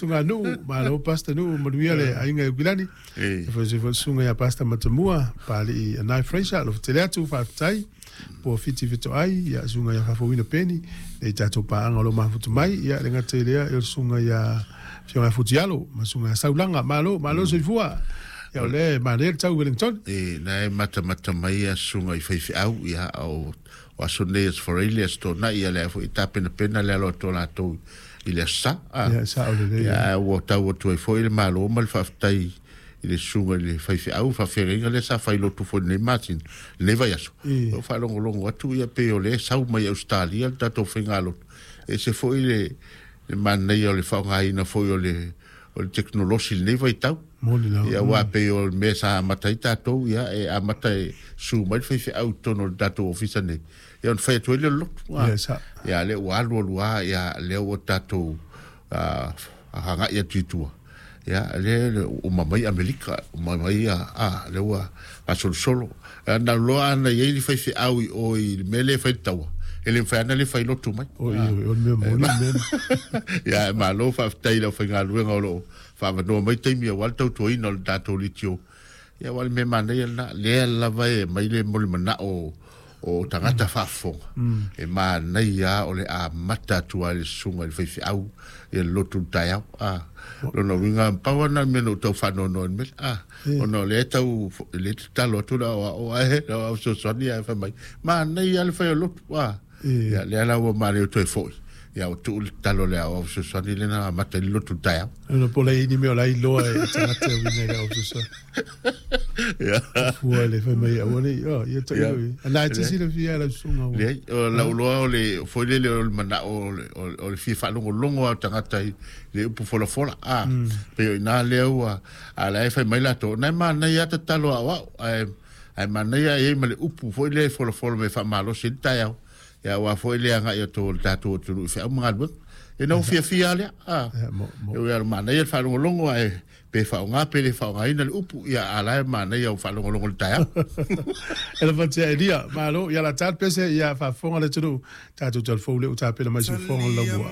susuga Nuu, malo Pastor Nuu, manuia le aiga i Aukilani. E faapea foi le susuga ia Pastor Matamua, Papalii Anae Fraser, alofa tele atu, faafetai. Po o Fiti Fetoai, ia susuga ia Faafouina Peni, nei tatou paaga o lo o mafuta mai, ia le gata i lea, o le susuga ia Afioga ia Futialo, ma susuga ia Saulaga, malo, malo soifua. Ia o lea e manaia le tau i Wellington. E, na e matamata mai ia susuga i faifeau, ia, o, o aso nei aso Faraile, aso Toonai, ia lea foi tapenapena le alo atu o latou i le aso Sa. Ah. Ia, sao lelei. Ia, ua tau atu ai foi le malo ma le faafetai i le susuga i le faifeau, faafeagaiga lea sa fai lotu foi i lenei masina, lenei vaiaso. O faalogologo atu ia pei o lea e sau mai Ausetalia le tatou faigalotu. E ese foi le, le manaia o le faaaogaina foi o le, o le tekonolosi i lenei vaitau. Moni lava. Ia, aua pei o le mea sa amata ai tatou, ia, e amata e susu mai le faifeau i totonu o le tatou ofisa nei, ia ona fai atu ai lea o le lotu. Ia, sa. Ia, lea ua alu alu lava, ia, lea ua tatou agai atu i tua. Ia, lea uma mai Amerika, uma mai ia, a, lea ua faasolosolo. Na loa ana i ai le faifeau i o i le mea lea e fai le taua, e le mafai lava ona le fai lotu mai. O i, o le mea moni le mea. Ia, e malo faafetai i le aufaigaluega o lo o faavanoa mai taimi aua le tautuaina o le tatou leitio. Ia, aua o le mea manaia lena, lea lava e aumai le molimanaʻo o tagata faafofoga, e manaia lava o le amata atu lava i le susuga i le faifeau ia le lotu i le taeao. A, lona uiga, pau lava lena o le mea na ou tau faanoanoa ai i le mea lea. A, ona o lea e tau, lea e tatalo atu le aoao ae le aoao fesoasoani ae fai mai, manaia lava le fai o lotu. A, ia, lea la ua manaia ua toe foi. Ia, ua tuu le tatalo a le aoao fesoasoani lea na amata ai le lotu i le taeao. Ona po o le i ai ni mea o la e iloa e tagata e uiga i le aoao fesoasoani. Fua le fai mai aua nei, oh, ia tailo i. Ana e te silafia e lau susuga ua. Leai, o lau iloa o le foi lele o le manao o le fia faalogologo lava o tagata i le upu folafola. A, pei o i ina lea ua, a la e fai mai latou, na e manaia lava tatalo aoao, ae, ae manaia e i ai ma le upu foi lea e folafola mai e faamalosi ai le taeao. Ia aua foi le agai atu o le tatou atunuu i feau ma galuega. E na ua fiafia lava lea. A, e ui lava manaia le faalogologo ae pe faaaoga pe le faaaogaina le upu, ia a la e manaia o faalogologo i le taeao. E lava tia Elia, malo, ia la tale pese, ia faafofoga le atunuu, tatou talafou lea ua tapena mai se fofoga o le laumua.